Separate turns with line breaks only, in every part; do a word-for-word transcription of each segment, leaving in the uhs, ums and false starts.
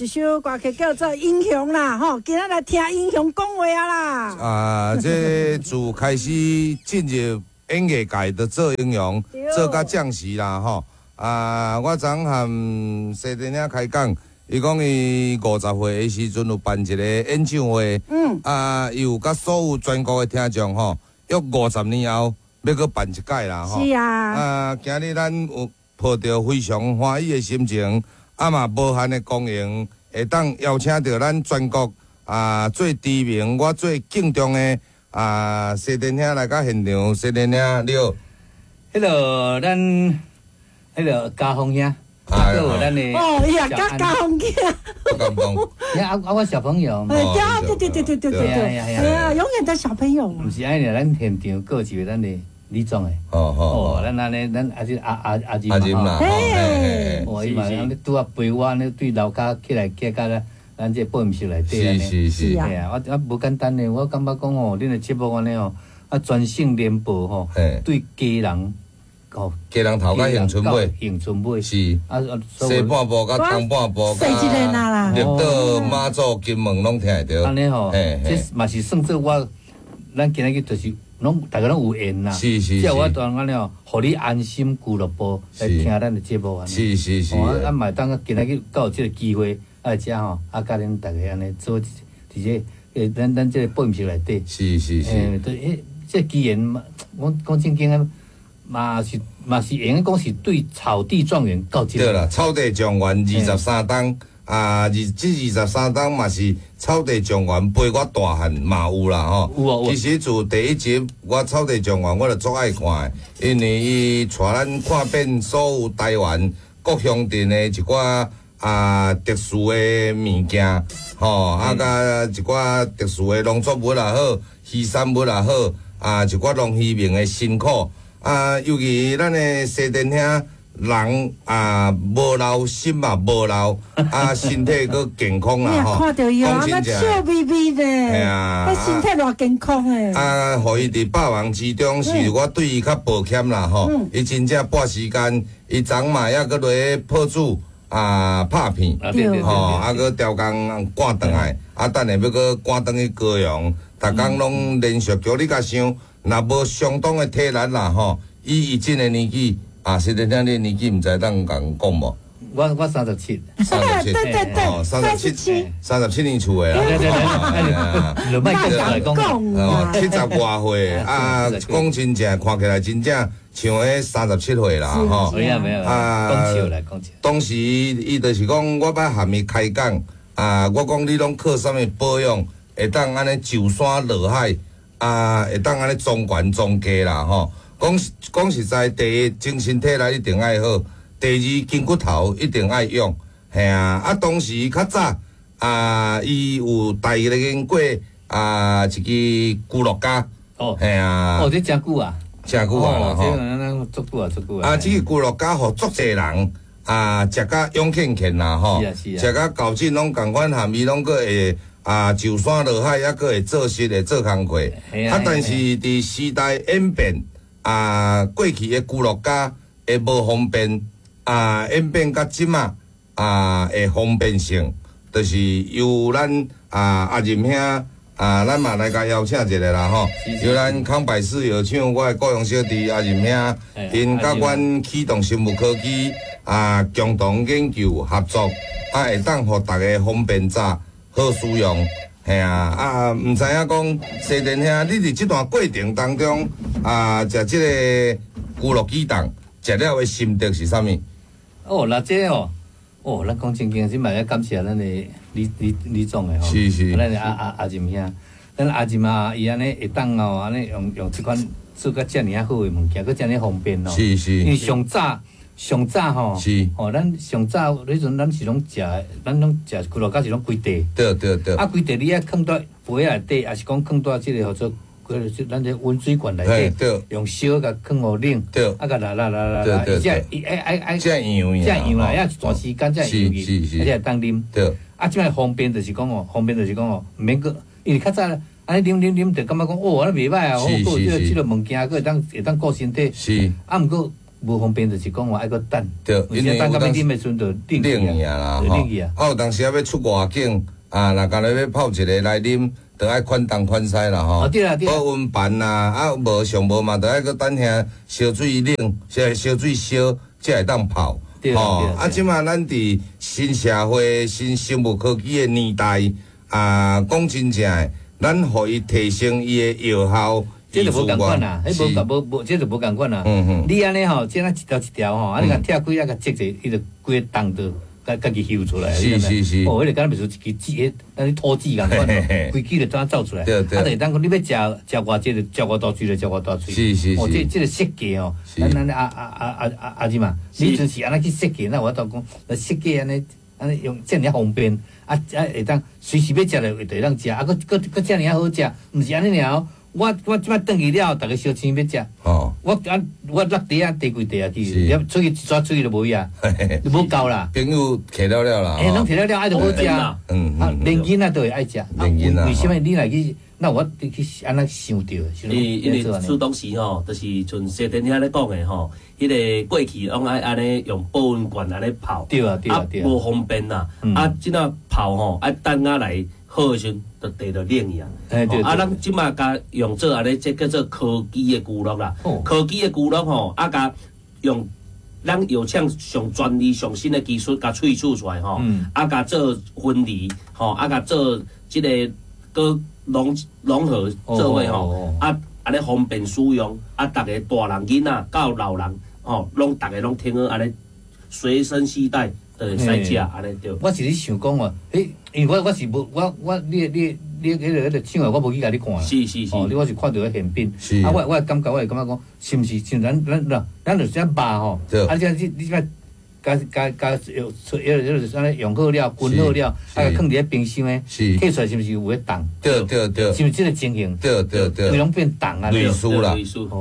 一首歌曲叫做《英雄》啦，吼，今仔來聽英雄講話啊啦。
啊，這自開始進入演藝界，就做英雄，做甲將士啦，吼。啊，我昨和西田兄開講，伊講伊五十歲的時陣有辦一個演唱會，
嗯，
啊，伊有佮所有全國的聽眾吼，約五十年後欲閣辦一擺啦，吼。
是啊。
啊，今日咱有抱著非常歡喜的心情，啊嘛無限的光榮，會當邀請著咱全國啊最知名、我最敬重的啊西田兄來到現場。西田兄，你好。
彼個咱彼個家峰兄，啊，閣有咱的
哦，伊也佮家峰兄，
不敢講。
啊啊，我小朋友。
對對對對對對對，哎呀，永遠的小朋友。
毋是按呢，咱現場閣有一位咱的李總的。
哦哦，
哦，咱按呢，咱阿是阿阿阿仁
阿仁啦，
嘿，
哦，伊嘛按呢拄仔陪我按呢對樓跤起來行到咱咱這播音室內底按呢。
是是是。
嘿啊，我我無簡單呢，我感覺講吼，恁的節目按呢吼，啊全省聯播吼，對基隆。哦，
基隆頭到恆春尾，
恆春尾
是
啊，
西半部佮東半部，綠島、馬祖、金門攏聽會著。
按呢吼，這嘛是算做我，咱今仔日就是攏大家攏有緣啦。
是是是。
才有法度按呢吼，予你安心俱樂部來聽咱的節目按呢。
是是是。
啊，嘛會當今仔日閣有這個機會，啊，遮吼，啊，佮恁大家按呢做佇這，欸，咱咱這個播音室內底。
是是是。
欸，對，這機緣嘛，我講正經的。嘛是嘛是會用講是對草地狀元到這個。
對啦，草地狀元二十三冬啊，二這二十三冬嘛是草地狀元陪我大漢嘛有啦吼。
有啊有。
其實自第一集我草地狀元我就足愛看的，因為伊帶咱看遍所有台灣各鄉鎮的一寡啊特殊的物件，吼，啊佮一寡特殊的農作物也好，漁產物也好，啊一寡農漁民的辛苦。啊，尤其咱的西田兄人啊，無老心嘛無老，啊，身體閣健康啦吼。
看著伊啊，那笑眯眯的，
嘿啊，
彼身體偌健康的。
啊，予伊佇百忙之中，是我對伊較抱歉啦吼。伊真正撥時間，伊昨嘛猶閣落去破煮啊拍片，吼，啊閣調工趕轉來，啊等下欲閣趕轉去高雄，逐工攏連續叫你共想。若無相當的體力啦吼，以伊這个年紀，啊，實在聽你年紀毋知當共講無？
我我三十七，
三十七，
對對對，
三十七，三十七年厝的啦。
對對對，就莫講
哦，七十外歲啊，講真正看起來真正像彼三十七歲啦吼。
沒有沒有，啊，講笑啦講笑。
當時伊就是講，我捌含伊開講，啊，我講你攏靠啥物保養，會當按呢上山落海？啊，會當按呢裝懸裝低啦吼。講講實在，第一精神體力一定愛好，第二筋骨頭一定愛用，嘿啊。啊，當時較早啊，伊有代言過啊一支龜樂家，
哦，
嘿啊，
哦，這誠久啊，
誠久啊啦
吼，足久啊，足久啊。
啊，這支龜樂家予足濟人啊，食甲勇健健啦吼，食甲厚進攏仝款，含伊攏閣會。啊，上山落海，猶閣會做事，會做工課。啊，但是佇時代演變，啊，過去的龜樂家會無方便，啊，演變到這馬啊，會方便性，就是由咱啊阿仁兄啊，咱嘛來共邀請一下啦吼。由咱康百氏藥廠，我的高雄小弟阿仁兄，𪜶佮阮啟動生物科技啊，共同研究合作，啊，會當予大家方便早。好使用，嘿啊，啊，毋知影講西田兄，你佇這段過程當中啊，食這個龜樂肌凍，食了的心得是啥物？
哦，那這哦，哦，咱講正經，這嘛要感謝咱的李李李總的吼，
是是，
咱的阿阿阿仁兄，咱阿仁啊，伊按呢會當哦，按呢用用這款做甲遮爾仔好的物件，閣遮爾方便哦。
是是。
因為上早上早吼，
是
吼，咱上早彼陣咱是攏食，咱攏食龜樂家是攏規袋。
對對對。
啊，規袋你愛囥佇杯仔內底，抑是講囥佇這個號做咱這溫水罐內底，用燒共囥予冷，啊，共拉拉拉拉拉，伊才伊愛愛愛，
才溶
才溶啦，抑一段時間才溶去，啊，才會當啉。
對。
啊，這擺方便就是講哦，方便就是講哦，毋免閣，因為較早按呢啉啉啉，就感覺講哦，按呢袂䆀啊，好，閣有這個這個物件，閣會當會當顧身體。
是。
啊，毋過。無方便，就是講話愛閣等。
對，
因為等到欲啉的時陣就冷
去啊啦，冷去啊。啊，有當時啊欲出外景啊，若干焦欲泡一个來啉，就愛款東款西啦吼。
對啦對。
保溫盤啊，啊無上無嘛，就愛閣等遐燒水冷，燒燒水燒，才會當泡。
吼，
啊，這馬咱佇新社會、新生物科技的年代，啊，講真正的，咱予伊提升伊的藥效。
這就無仝款啦，彼無無無，這就無仝款啦。你按呢吼，這若一條一條吼，啊你共拆開啊，共折者，伊就規个重就家家己翕出來。
是是是。
哦，彼个敢若袂輸一支紙，咱咧吐紙仝款，規支就怎走出來。
對對。
啊，就會當講你欲食食偌濟就食偌大喙就食偌大喙。
是是是。
哦，這這个設計哦，咱咱阿阿阿阿阿阿姊嘛，你就是按呢去設計，那我都講，設計按呢按呢用遮爾仔方便，啊啊會當隨時欲食就會當食，啊閣閣閣遮爾仔好食，毋是按呢爾。我我這擺轉去了後，逐个相請欲食。
哦。
我啊，我落地啊，提幾袋啊去，出去一撮出去就無去啊，就無夠啦。
朋友摕了了啦。
欸，攏摕了了，愛就好食。
嗯
啊，連囡仔都會愛食。
連囡仔。
為什麼你若去？那我去按怎想著？
因因為出當時吼，就是像西電遐咧講的吼，彼个過去攏愛按呢用保溫罐按呢泡。
對啊對啊對啊。
無方便啦，啊，這若泡吼，愛等下來。好的時陣，就茶就冷去啊！啊，咱這馬共用做按呢，這叫做科技的娛樂啦。科技的娛樂吼，啊，共用咱藥廠上專利、上新的技術，共萃取出來吼，啊，共做分離吼，啊，共做這个閣融融合做伙吼，啊，按呢方便使用，啊，逐个大人囡仔到老人吼，攏逐个攏聽好按呢隨身攜帶。會使食按呢對。
我是咧想講哦，彼因為我我是無我我你你你彼个彼个廠的我無去共你看啦。
是是是。
哦，你我是看著彼現品。
是。
啊，我我感覺我會感覺講，是毋是像咱咱咱咱就是這肉吼？啊，這你你這共共共用出，彼个按呢用好了，熏好了，啊，共囥佇咧冰箱的，摕出來是毋是有彼凍？
對對對。
是毋是這个情形？
對對對。
規攏變凍啊！
類似啦。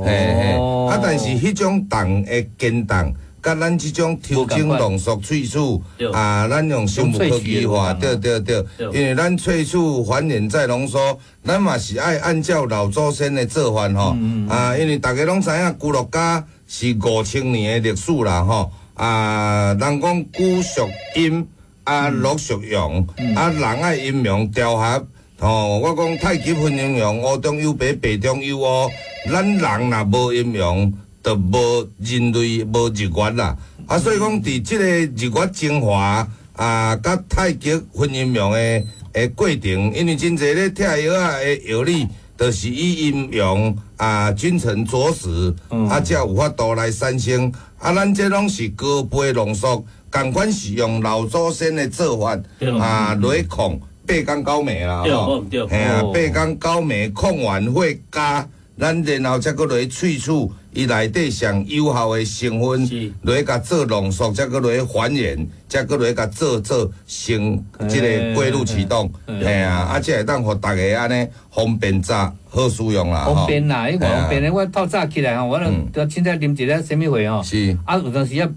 嘿嘿。啊，但是彼種凍的堅凍。佮咱這種抽精濃縮萃取，啊，咱用生物科技化，對對對，因為咱萃取還原再濃縮，咱嘛是愛按照老祖先的做法吼，啊，因為逐家攏知影蒟蒻膠是五千年的歷史啦吼，啊，人講穀屬陰，啊，穀屬陽，啊，人愛陰陽調和，吼，我講太極分陰陽，烏中有白，白中有烏，咱人若無陰陽，就無人類無日月啦，啊，所以講佇這个日月精華啊，佮太極分陰陽的的過程，因為真濟咧拆藥仔的藥理，就是以陰陽啊君臣佐使，啊，才有法度來產生。啊，咱這攏是高倍濃縮，仝款是用老祖先的做法啊來控八工九暝啦，
吼，
嘿啊，八工九暝控完會加，咱然後才閣落去萃取。伊內底上有效的成分，落去共做濃縮，才閣落去還原，才閣落去共做做成這个過濾啟動，嘿啊，啊，才會當予逐家按呢方便食好使用啦。
方便啦，彼偌方便的，我透早起來吼，我就凊彩啉一个啥物貨吼，啊，有當時啊。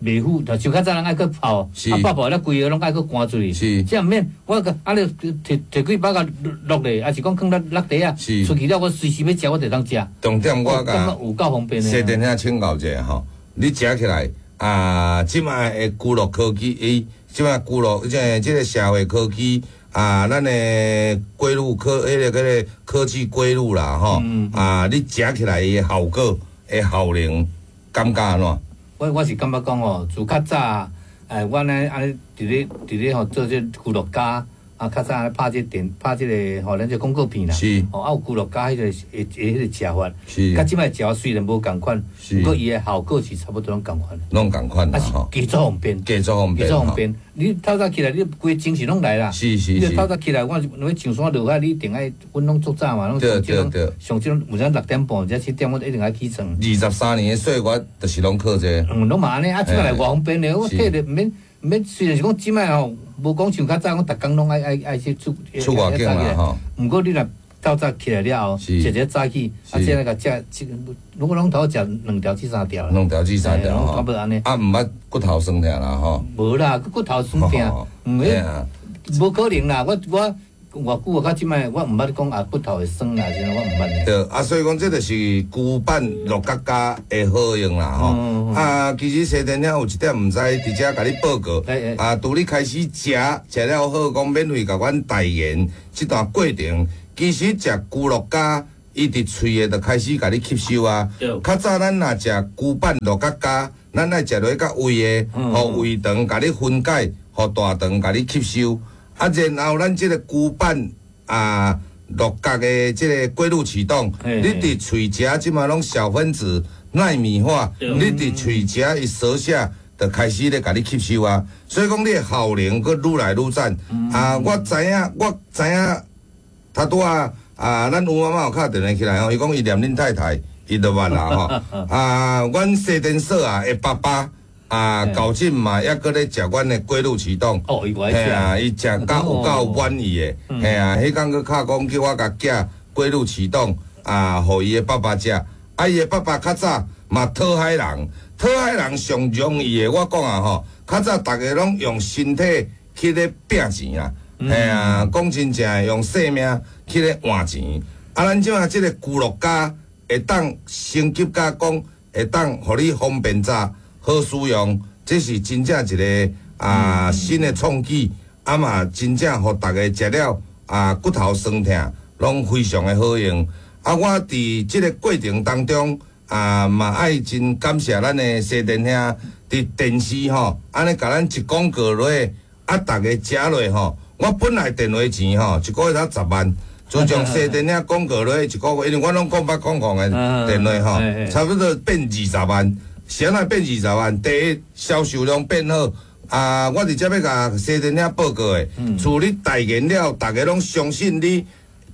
袂赴，就像較早人愛閣泡，啊泡泡了規个攏愛閣乾出去。
是，
這毋免，我閣啊你摕摕幾包共落咧，抑是講囥咧落地啊，出去了我隨時欲食，我就當食。
重點我共
有夠方便的。
西電遐請教者吼，你食起來啊，這擺的娛樂科技，伊這擺娛樂這這个社會科技啊，咱的過濾科，彼个彼个科技過濾啦吼，啊，你食起來的效果的效能，感覺按怎？
我我是感覺講吼，自較早，哎，阮呢按呢佇咧佇咧吼做這蒟蒻膠，啊，較早按呢拍這電拍這个吼，咱這廣告片啦，
是，
吼啊有蒟蒻膠彼个會會彼个食法，
是，
佮這擺食法雖然無仝款，
是，
毋過伊的效果是差不多攏仝款，
攏仝款啦，
吼，加足方便，
加足方便，
加足方便。你透早起來，你規个精神攏來啦，
是是是。
你透早起來，我欲上山落海，你一定愛，阮攏足早嘛，攏
對對對。
上這種有陣六點半，或者七點，我一定愛起床。
二十三年的歲月，就是攏靠這個。
嗯，攏嘛按呢，啊，這擺來偌方便咧，我摕著毋免毋免，雖然是講這擺吼，無講像較早講，逐工攏愛愛愛去出
出外景啦吼。
毋過你若透早起來了後，食一早起，啊，這個食，如果攏頭食兩條至三條。
兩條至三條
吼。差不多按呢。
啊，毋捌骨頭酸疼啦吼。
無啦，骨頭酸疼，毋免，無可能啦。我我偌久啊，到這擺我毋捌講啊骨頭會酸啊，啥我毋捌。
對，啊，所以講這就是龜板六角膠的好用啦，吼。嗯、啊，其實西電兄有一點毋知，佇遮共你報告。欸欸啊，拄你開始食，食了好，講免費共阮代言，這段過程其實食龜鹿膠，伊佇喙的就開始共你吸收啊。較早咱若食龜板六角膠，咱愛食落較胃的，予胃腸共你分解，予大腸共你吸收。啊，然後咱這個龜板啊，六角的這個過濾系統，你佇喙食這馬攏小分子納米化，你佇喙食伊舌下就開始咧共你吸收啊。所以講你的效能閣愈來愈讚。啊，我知影，我知影，他拄仔啊，咱吳媽媽有敲電話起來吼，伊講伊念恁太太，伊就捌啦吼。啊，阮西電所啊的爸爸。啊，高進嘛，抑閣咧食阮的過濾系統。
哦，伊愛食。
嘿啊，伊食甲有夠滿意的。嘿啊，彼工閣敲講叫我共寄過濾系統啊，予伊的爸爸食。啊，伊的爸爸較早嘛討海人，討海人上容易的，我講啊吼，較早逐家攏用身體去咧拼錢啊。嘿啊，講真正的，用性命去咧換錢。啊，咱這馬這個龜鹿膠會當升級甲講，會當予你方便早。好使用，這是真正一個啊新的創舉，啊嘛真正予大家食了啊骨頭酸痛，攏非常的好用。啊，我佇這個過程當中啊嘛愛真感謝咱的西電兄佇電視吼，按呢共咱一廣告落，啊逐家食落吼，我本來電話錢吼一個月才十萬，自從西電兄廣告落一個月，因為我攏空八空空的電話吼，差不多變二十萬。啥物變二十萬？第一，銷售量變好。啊，我佇遮欲共西電兄報告的，自你代言了，逐家攏相信你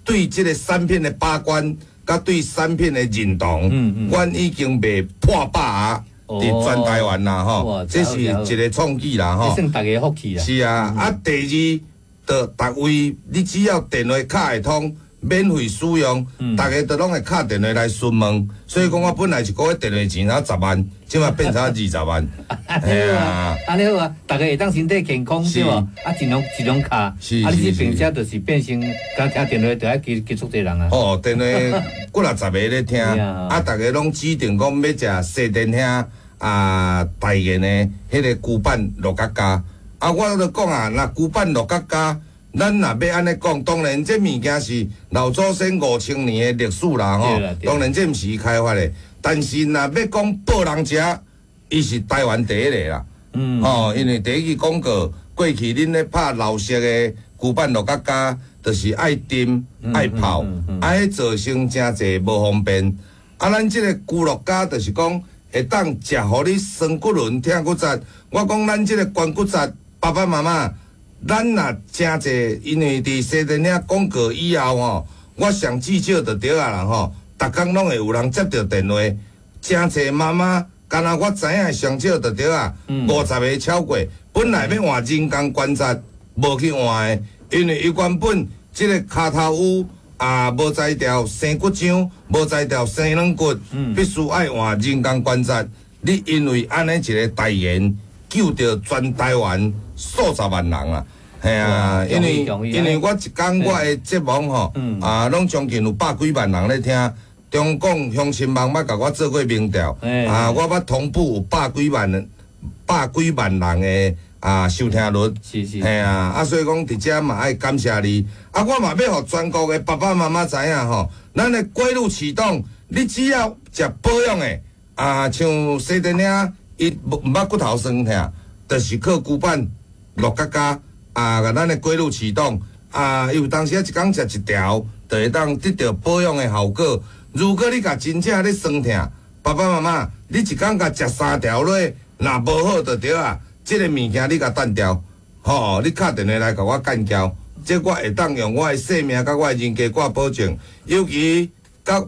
對這個產品的把關，佮對產品的認同，阮已經賣破百啊，佇全台灣啦吼，這是一個創舉啦吼。
算逐家福氣啦。
是啊，啊，第二，就逐位你只要電話敲會通。免費使用，逐家都攏會敲電話來詢問，所以講我本來一個月電話錢才十萬，這馬變成二十萬。
係啊，按呢好啊，逐家會當身體健康對無？啊，盡量盡量敲，啊，你這並且就是變成，敢聽電話就愛結結束這人啊。
哦，電話幾若十個咧聽，啊，逐家攏指定講欲食西電兄啊代言的彼個龜板六角膠，啊，我就講啊，若龜板六角膠。咱若欲按呢講，當然這物件是老祖先五千年的歷史啦吼。當然這毋是伊開發的，但是若欲講報人食，伊是台灣第一個啦。嗯。吼，因為第一支廣告過去恁咧拍老式的龜板六角膠，就是愛浸愛泡，啊，彼造成誠濟無方便。啊，咱這個龜鹿膠就是講會當食予你酸骨輪、疼骨節。我講咱這個關骨節，爸爸媽媽。咱若誠濟，因為佇西電兄廣告以後吼，我上至少就對啊啦吼，逐工攏會有人接著電話，誠濟媽媽，敢若我知影上少就對啊，五十個超過，本來欲換人工關節，無去換的，因為伊原本這個跤頭趺啊無才調生骨漿，無才調生軟骨，必須愛換人工關節。你因為按呢一個代言，救著全台灣數十萬人啊！嘿啊，因為因為我一工我的節目吼，啊，攏將近有百幾萬人咧聽。中廣鄉親網捌共我做過民調，啊，我捌同步有百幾萬百幾萬人的啊收聽率，
是是，
嘿啊，啊，所以講佇遮嘛愛感謝你，啊，我嘛欲予全國的爸爸媽媽知影吼，咱的過濾系統，你只要食保養的，啊，像西電兄伊無毋捌骨頭酸痛，就是靠龜板六角膠啊，共咱的過濾系統啊，伊有當時啊一工食一條，就會當得著保養的效果。如果你共真正咧酸痛，爸爸媽媽，你一工共食三條落，若無好就對啊。這個物件你共單掉，吼，你敲電話來共我幹譙，這我會當用我的性命佮我的人格掛保證。尤其佮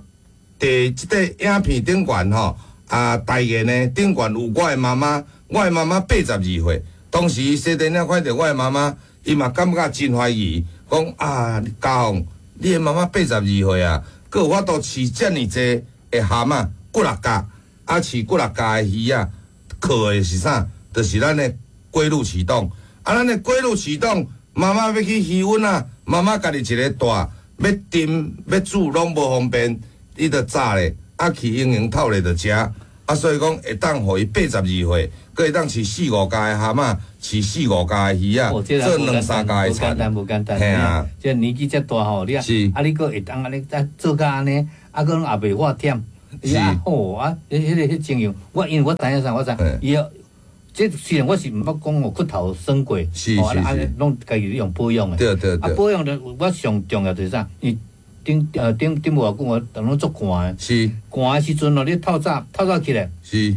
佇這個影片頂懸吼，啊，代言的頂懸有我的媽媽，我的媽媽八十二歲，當時西電兄看著我的媽媽，伊嘛感覺真懷疑，講啊，家鳳，你的媽媽八十二歲啊，閣有法度飼遮爾濟的蚶仔，骨六角，啊，飼骨六角的魚仔，靠的是啥？就是咱的過濾系統。啊，咱的過濾系統，媽媽欲去魚塭啊，媽媽家己一個帶，欲蒸欲煮攏無方便，伊就炸咧，啊去營養透咧就食。啊，所以講會當予伊八十二歲，閣會當飼四五家的蛤蟆，飼四五家的魚仔，做兩三家的田。
無簡單，無簡單。
嘿啊，
這年紀遮大吼，你啊，啊你閣會當按呢啊做甲按呢，啊閣攏也袂喝忝。是啊，好啊，彼彼个彼情形，我因為我知影啥，我知。伊這雖然我是毋捌講哦，骨頭酸過，
是是是，
攏家己用保養的。
對對對。
啊，保養的我上重要就是啥？伊頂呃頂頂無偌久，我逐攏足寒的。
是。
寒的時陣哦，你透早透早起來。
是。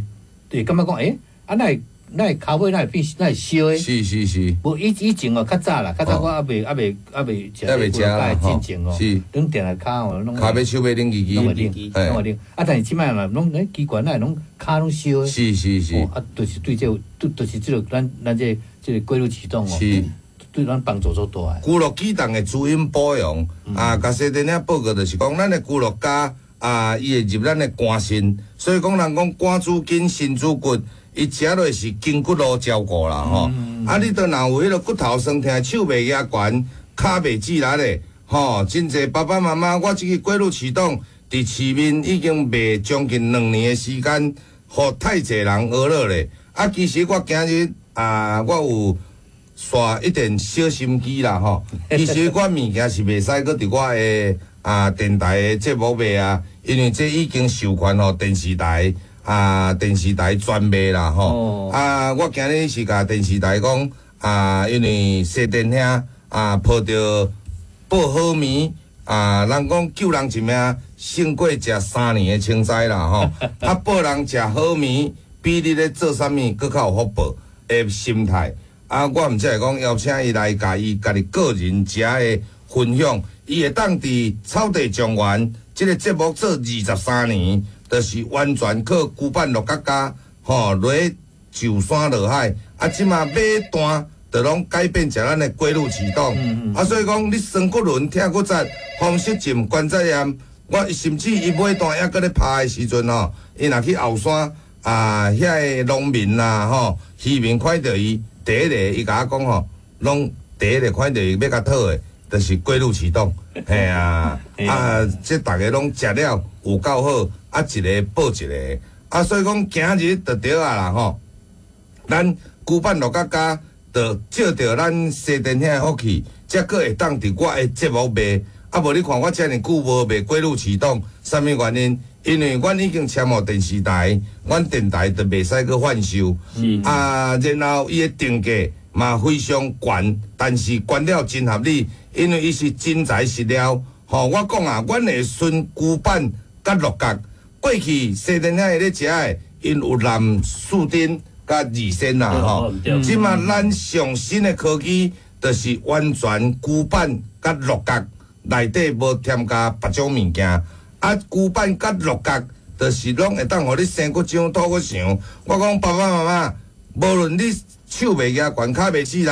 對，感覺講，欸，啊，哪會哪會跤尾哪會變哪會燒的？
是是是。
無以以前哦，較早啦，較早我猶未猶未猶未食
猶未食啦，
進前哦。
是。
攏定來跤哦，攏。
跤尾手尾冷吱吱。
攏會冷，攏會冷。啊，但是這擺嘛，攏欸奇怪，哪會攏跤攏燒的？
是是是。
啊，就是對這個，對，就是這個咱咱這個這個過濾系統哦。
是。
對咱幫助足大的。
龜鹿機動的滋陰保養啊，共西電影報告就是講，咱的龜鹿膠啊，伊會入咱的肝腎，所以講人講肝主筋，腎主骨，伊食落是筋骨路照顧啦吼。啊，你都若有彼个骨頭酸疼、手袂舉懸、跤袂直力的吼，真濟爸爸媽媽，我這個過濾系統佇市面已經賣將近兩年的時間，予太濟人學落咧。啊，其實我今日啊，我有刷一點小心機啦吼，其實我物件是袂使閣佇我的啊電台的節目賣啊，因為這已經授權予電視台啊電視台專賣啦吼。啊，我今日是共電視台講啊，因為西電兄啊抱著報好物啊，人講救人一命勝過食三年的青菜啦吼。啊，報人食好物，比你咧做啥物閣較有福報的心態。啊，我毋才會講邀請伊來，共伊家己個人遮的分享，伊會當佇草地莊園這個節目做二十三年，就是完全靠龜板鹿角膠吼落上山落海，啊，這馬買單就攏改變食咱的過濾系統。啊，所以講你酸骨輪、疼骨節、風濕症、關節炎，我甚至伊買單猶閣咧拍的時陣吼，伊若去後山啊，遐个農民啦吼，漁民看著伊。第一个，伊共我講吼，攏第一个看著伊欲共討的，就是過濾系統，嘿啊，啊，這逐个攏食了有夠好，啊，一個報一個，啊，所以講今日就對啊啦吼，咱龜板鹿角膠，就借著咱西電兄的福氣，才閣會當佇我的節目賣，啊，無你看我遮爾久無賣過濾系統，啥物原因？因為阮已經簽予電視台，阮電台就袂使閣販售。啊，然後伊的定價嘛非常懸，但是懸了真合理，因為伊是真材實料。吼，我講啊，阮會孫龜板佮鹿角，過去西電兄咧食的，𪜶有藍四丁佮二仙啦吼。這馬咱上新的科技，就是完全龜板佮鹿角內底無添加別種物件。啊，龜板佮鹿角，就是攏會當予你生骨長、吐骨長。我講爸爸媽媽，無論你手袂舉懸、跤袂直力、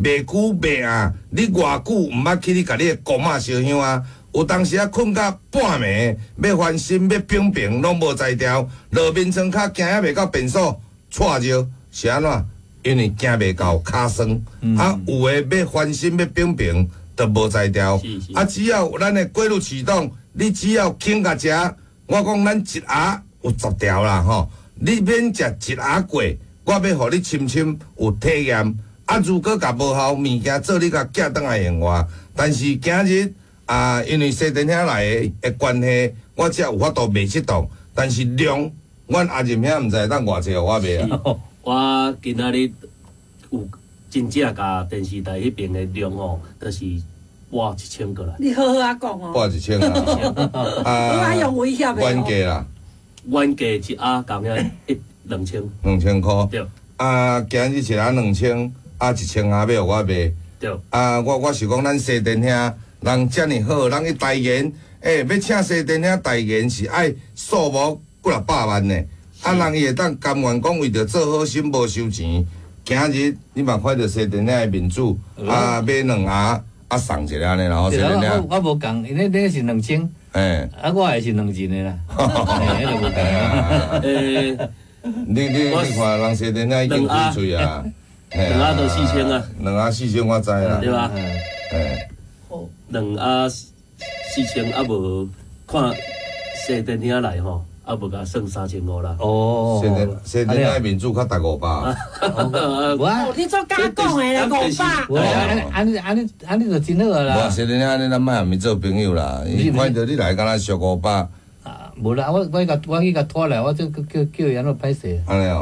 袂久袂暗，你偌久毋捌去你共你的公仔燒香啊？有當時啊，睏到半暝，欲翻身欲平平，攏無才調，落眠床跤行猶袂到便所，掣著是按怎？因為行袂到，跤酸。啊，有的欲翻身欲平平，都無才調。啊，只要咱的過濾系統。你只要肯共食，我講咱一盒有十條啦吼，你免食一盒過，我欲予你深深有體驗。啊，如果共無效，物件做你共寄轉來還我。但是今日啊，因為西電兄來的的關係，我才有法度賣這檔。但是量，阮阿任兄毋知會當偌濟予我賣啊。
我今仔日有真正共電視台彼邊的量吼，就是。撥一千過來，
你好好仔講哦。
撥一千啊！
啊，用威脅的。
原價啦，
原價一盒共遐一兩千。
兩千箍。
對。
啊，今日一盒兩千，啊一千盒欲予我賣。
對。
啊，我我是講咱西電兄人遮爾好，人去代言，欸，欲請西電兄代言是愛數目幾若百萬呢。啊，人伊會當甘願講為著做好心無收錢。今日你嘛看著西電兄的面子，啊，買兩盒。啊，送一個按呢啦，吼，
我我無仝，因為你是兩千，啊，我的是兩人的啦，彼個無仝。
欸，
你你你看人西電兄已經開喙啊，
兩盒都四千啊，
兩盒四千我知啦，
對吧？
欸，
好，
兩啊四千啊無看西電遐來吼，啊無共算三千五啦。
哦，
西電西電遐面主較值五百。
哦，你做敢講的咧，五百。
無按按呢按呢按呢就真好啊啦。
無西電遐按呢，咱莫共伊做朋友啦。伊看著你來敢若俗五百。
啊，無啦，我我去共我去共拖來，我這叫叫伊按怎歹勢。
按呢哦。